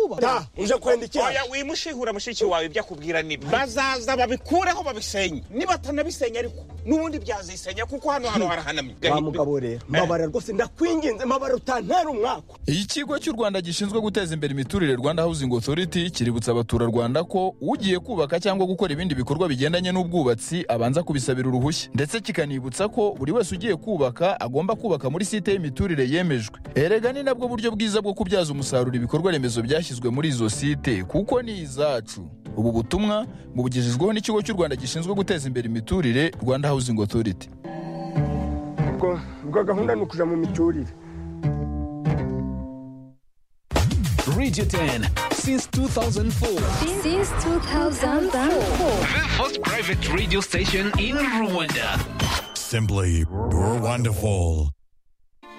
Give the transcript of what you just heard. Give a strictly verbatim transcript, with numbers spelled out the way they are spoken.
kubaka uje kwenda iki oya wimushihura mushiki wawe ibyo akubwira ni bazaza babikureho babisenye niba atanabisenya ariko nubundi byazisenya kuko hano hano harahanamye wa mugabo rero mabara rwose ndakwinginze mabara utantera umwako. Ikigo cy'u Rwanda gishinzwe guteza imbere imiturire Rwanda Housing Authority kiributsa abaturarwanda ko ugiye kubaka cyangwa gukora ibindi bikorwa bigendanye n'ubwubatsi abanza kubisabira uruhushya, ndetse kikanibutsa ko buri wese ugiye kubaka agomba kubaka muri site y'imiturire yemejwe. Erega ni nabwo buryo bwiza bwo kubyaza umusaruro ibikorwa remezo byashyizwe muri izo site kuko ni izacu. Ubu butumwa bubugejejweho n'ikigo cy'u Rwanda gishinzwe guteza imbere imiturire Rwanda Housing Authority. Ubwo ubwo gahunda ni ukuja mu miturire. Radio ten since two thousand four. Since two thousand four. The first private radio station in Rwanda. Simply, you're wonderful.